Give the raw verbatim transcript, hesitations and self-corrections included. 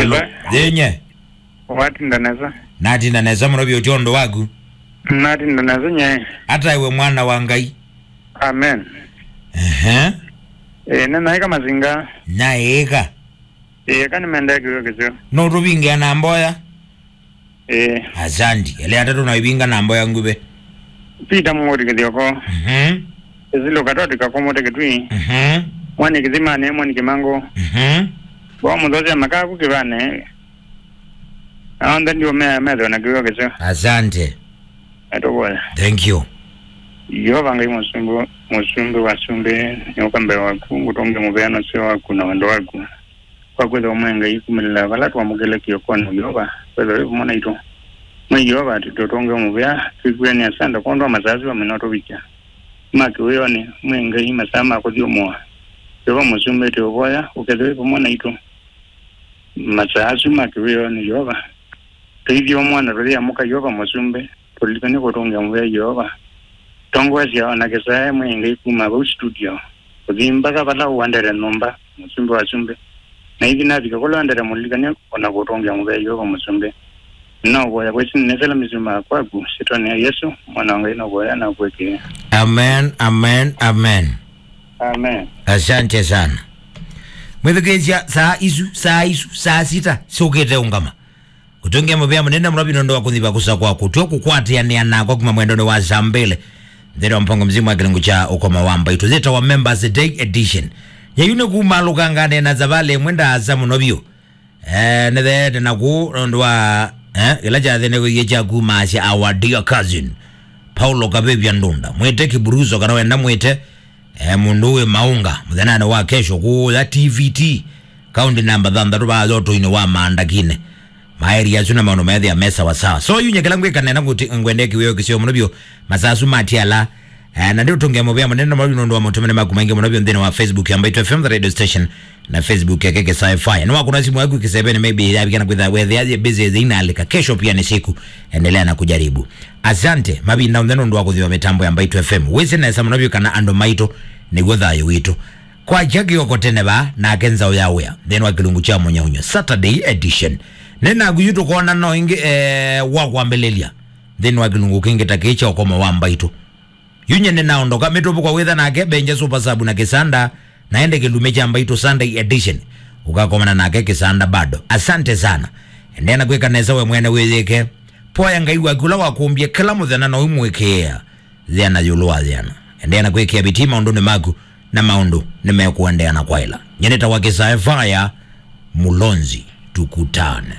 Hello. Ba. Yenye. Watinda nesa. Natinda nesa mũno vyũ, ũtyo ũndũ waku. Natinda nesa nye. Ata iwe mwana wa Ngai. Amen. Ehe. Eh, nĩ naĩka mazinga. Naĩka. Eh, kana mendekio kĩsio. No tũvingĩa na mboya. Eh. Asante. Ele atatu na ivinga na mboya nguvĩ. Peter Mũng'ũti Kĩthioko. Mhm. Isilu Katoti Kakomote Kitui. Mhm. Mwani Kĩthimani, Mwani Kĩmango. Mhm. Bo mũthosya makaku kĩvane. Aonde ndio mea metho na kiwa kĩsio. Asante. Atoboya. Thank you. Yehova Ngai mũsumbĩ, mũsumbĩ wa sumbĩ, nĩũka mbee waku, ngũtũngĩa mũvea na ũseo waku na wendo waku. Kwa kwĩthĩwa mwĩ Ngai kumĩlĩla vala twamũkĩle kĩokonĩ Yeova, kwĩthĩwa wĩ vamwe naitũ. Mwĩ Yeova, tũtũngĩe mũvea, twĩkw'e nĩ asanda kwondũ wa masaa asu amwe no tũvikya. Ma kĩwĩonĩ, mwĩ Ngai masaa ma kũthyũmũa. Yeova mũsumbĩ, tũũvoya, ũkethĩwe vamwe naitũ. Masaa asu ma kĩwĩonĩ Yeova. Tũithyũmũa na tũyĩamũka Yeova mũsumbĩ. Tũlilikane kũtũngĩa mũvea Yeova. Tongoesya o na kĩsae mwĩ Ngai kuma vau studio. Ũthi mbaka vala ũendete nyũmba, mũsumbĩ wa sumbĩ. Na ithi navika kũla ũendete mũlilikane o na kũtũngĩa mũvea Yeova mũsumbĩ. Nĩnaũvoya kwa ĩsyĩtwa nĩnĩsela mĩsyĩ ma kwaku, syĩtwanĩ ya Yesũ, mwana wa Ngai nũvoya na kwĩkĩĩa. Amen, amen, amen. Amen. Asante sana. Mwĩthukĩĩsya saa isu, saa isu, saa sita, syũkĩte ũngama. Kũtũngĩa mũvea mũnene mũno vyũ nũndũ wa kũthiva kũsa kwaku. Twĩ kũkwatĩanĩa nakwa kuma mwendonĩ wa saa mbĩlĩ. Nthĩnĩ wa mpango mzima wa kĩlungu kya ũkoma wa mbaitũ. Yĩtawa Members Day Edition. Yeyu nĩ kumalũkanganĩa na savalĩ ĩmwe ndaasa mũno vyũ. Eh, nĩtheete naku nũndũ wa, eh, kĩla kyathĩnĩkĩie kya kumaasya our dear cousin. Paulo Kavĩvya Ndunda. Mwĩte Kĩburuso kana wenda mwĩte, eh, mũndũ wĩ maũnga. Mũthenyanĩ wa kesho kũũya T V T. Kaunti namba thanthatũ vaa Yotũinĩ wa Maandakinĩ. Maeri asu na maũndũ methĩa me sawa sawa. So, yu nyekela ngwĩka nena kuti ngwendee kĩwĩo kĩseo mũno vyũ. Masaa asu matiala. Eh, na nĩ ũtũngĩa mũvea mũnene mũno nũndũ wa maũtũmĩne maku maingĩ mũno vyũ nthĩnĩ wa Facebook ya Mbaitũ F M, the radio station, na Facebook yake Kĩsae Fire. Nĩwakũna simu yaku kĩseveni, maybe yavika na kwĩtha wethĩa yĩ busy, yĩ inalika. Kesho pia ni siku. Endelea na kujaribu. Asante. Mavinda onthe nũndũ wa kũthiwa mĩtambo ya Mbaitũ F M. Wĩsĩ nesa mũno vyũ kana andũ maitũ nĩguo thayũ witũ. Kwakya kĩoko tene vaa, nake nzaũ ya wĩa, nthĩnĩ wa kĩlungu kya mũnyaũnyo, Saturday edition. Nĩ naku yu tũkoonana o ĩngĩ, eh, wa kwambĩlĩlya, nthĩnĩ wa kĩlungu kĩngĩ ta kĩĩ kya ũkomo wa mbaitũ. Yu nye nĩnaondoka, mĩtũvũko wĩtha nake, Benja Super Sub na Kĩsanda, na ende kĩlumĩ kya mbaitũ Sunday edition. Ũkakomana nake Kĩsanda bado. Asante sana. Endeea na kwĩka nesa we mwene wĩyĩke. Poya Ngai waku ũla wakũmbie kĩla mũthenya na ũimũĩkĩĩa. Yĩana ĩũlũ wa yĩana. Endeea na kwĩkĩa vitii maũndũnĩ maku, na maũndũ nĩmekũendeea na kwaĩla. Nye nĩtawa Kĩsae Faya Mũlonzi. Tukutane.